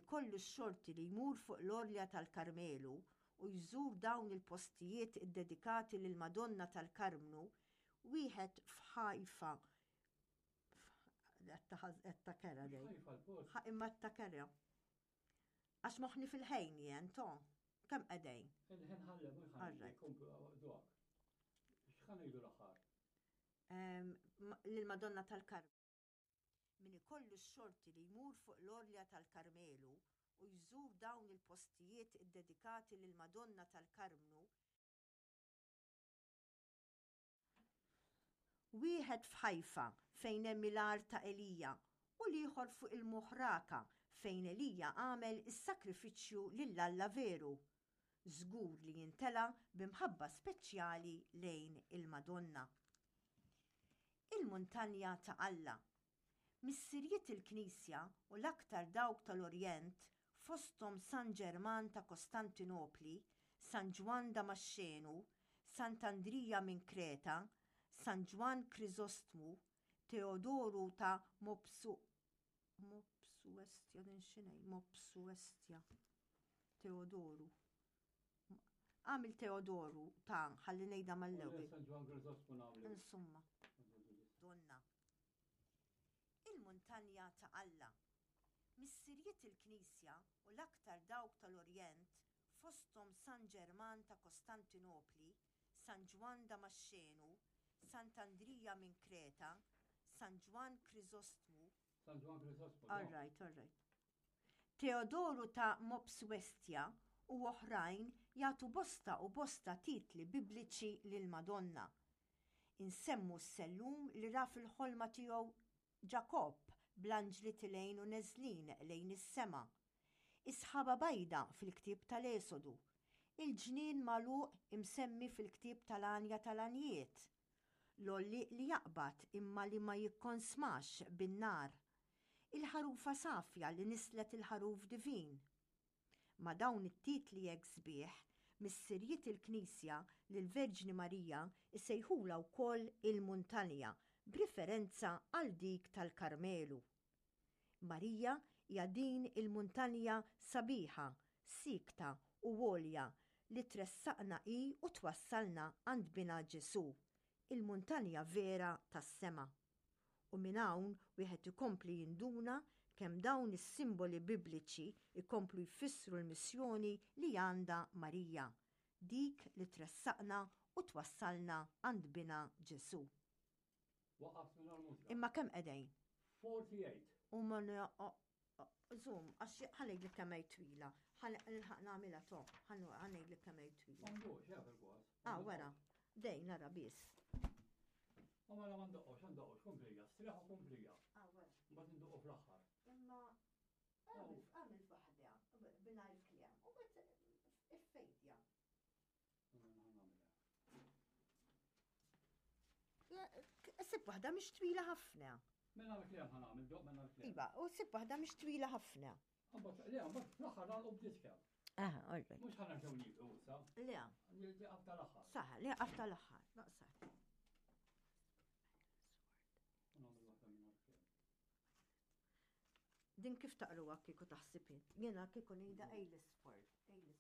ikollu x-xorti li jmur fuq l-Għorlja tal-Karmelu u jżur dawn il-postijiet iddedikati lill-Madonna tal-Karmnu, wieħed f'Ħajfa Qed kera dej. Imma ta' kera. Għax moħni fil-ħejn jien, to. Kemm qegħdejn? Il-ħin ħallem u ħallem. X'ħan ngħidu l-aħħar? Lil-Madonna tal-Karmel. Min ikollu x-xorti li jmur fuq l-Għorlja tal-Karmelu u jżur dawn il-postijiet iddedikati lill-Madonna tal-Karmnu, wieħed f'Ħajfa fejn hemm il-għar ta' Elija u l-ieħor fuq il-Muħraka fejn Elija għamel is-sagrifiċċju lil Alla veru, żgur li jintela' bi mħabba speċjali lejn il-Madonna. Il-muntanja ta' Alla. Missirijiet il-Knisja u l-aktar dawk tal-Orjent, fosthom San Ġerman ta' Kostantinopli, San Ġwann Damaxxenu, Sant'Andrija minn Kreta, San Ġwann Kriżostmu, Teodoru ta' Mopsu Mopsuestja din x'inhi? Mopsuestja. Teodoru. Għamil Teodoru ta' ħalli ngħidha mal-ewwel. San Ġwann Kriżostmu nagħmlu. Insomma. Donna. Il-muntanja ta' Alla. Missirijiet il-Knisja u l-aktar dawk tal-Orjent, fosthom San Ġerman ta' Kostantinopli, San Ġwann Damaxxenu, Sant'Andrija minn Kreta, San Ġwann Kriżostmu, San Ġwann Kriżostmu. All right, all right. Teodoru ta' Mopsuestia u oħrajn jagħtu bosta u bosta titli bibliċi lill-Madonna. Insemmu s-sellum li ra fil-ħolma tiegħu Ġakobb bl-anġli tilgħin u neżlin lejn is-sema. Is-sħaba bajda fil-ktieb tal-Esodu. Il-ġnien magħluq imsemmi fil-ktieb tal-Għanja tal-Għanjiet. L-għollieq li jaqbad imma li ma jikkonsmax bin-nar. Il-ħarufa safja li nisslet il-ħaruf divin. Ma' dawn it-titli hekk sbieħ, missirijiet il-Knisja lill-Verġni Marija jsejħulha wkoll il-Muntanja b'riferenza għal dik tal-Karmelu. Marija hija din il-muntanja sabiħa, siekta u għolja li tressaqna hi u twassalna għand Binha Ġesù, il-muntanja vera tas-sema. U minn hawn wieħed ikompli jinduna kemm dawn is-simboli bibliċi jkomplu jfissru l-missjoni li għandha Marija, dik li tressaqna u twassalna għand Binha Ġesù. Waqaft minn mużika. Imma kemm qegħdejn? 48. U ma Zoom, għax ħanejlek kemm hi twila. Ħanilħaq nagħmilha to, ħanejlek kemm hi twila. M'għandux, jaf il-kwas. Ah, wara. Dej nara biss. U mela ma ndoqqox, ndoqqox, kumplija, striħu kumplija. Ah, wara. Mbagħad ndoqqu fl-aħħar. Imma għamil waħda bingħajr kliem u bat iffejdja. Sib waħda mhix twila ħafna. Mela l-kliem ħanamil, doq mela l-kliem. Iva, u sib waħda mhix twila ħafna. Mbagħad, le, mbagħad fl-aħħar nagħlqu b'diska. Aha, all right. Mhux ħanerġgħu nieqfu issa. Le. Li qabta l-aħħar. Saħ, li qabta l-aħħar. Naqsar. Nagħmel waħda minn kliem. Din kif taqruha kieku taħsib int? Jiena kieku ngħidha Aylesford. Aylesford.